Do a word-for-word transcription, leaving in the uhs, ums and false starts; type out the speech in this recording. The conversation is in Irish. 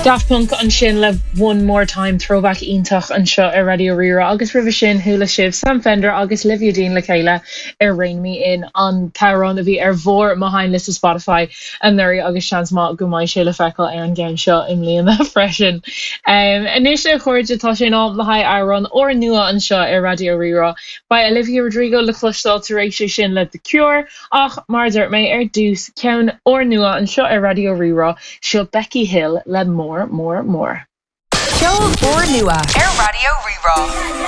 Daft Punk ansin le One More Time throwback iontach anseo ar Raidió Rí-Rá agus roimhe sin chuala sibh Sam Fender agus Olivia Dean le chéile ar Rein Me In an t-amhrán a bhí ar bharr mo sheinnliosta Spotify anuraidh agus seans maith go mbeidh sé le feiceáil ar an gceann seo i mbliana freisin. Um, Anois a chairde tá sé in am le haghaidh amhrán úrnua anseo ar Raidió Rí-Rá. Beidh Olivia Rodrigo le cloisteáil tar éis sin le The Cure ach mar dúirt mé ar dtús ceann úrnua anseo ar Raidió Rí-Rá seo Becky Hill le More More More. Ceol úrnua ar Raidió Rí-Rá.